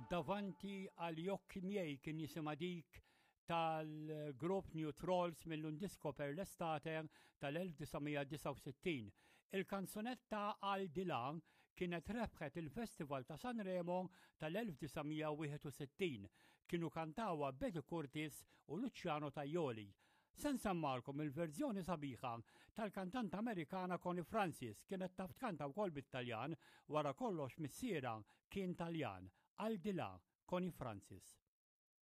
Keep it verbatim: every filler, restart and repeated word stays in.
Davanti agli occhi miei kien jisimha dik tal-grupp New Trolls mill-Un disco per l'estate tal-elf disa' mija disgħa u sittin. Il-kanzunetta Al di là kienet rebħet il-Festival ta' Sanremo tal-elf disa' mija wieħed u sittin. Kienu kantawha Betty Curtis u Luciano Tajoli. Se nsemmagħlkom il-verżjoni sabiħa tal-kantanta Amerikana Connie Francis. Kienet taf tkanta wkoll bit-Taljan, wara kollox missierha kien Taljan. Al di là, Connie Francis.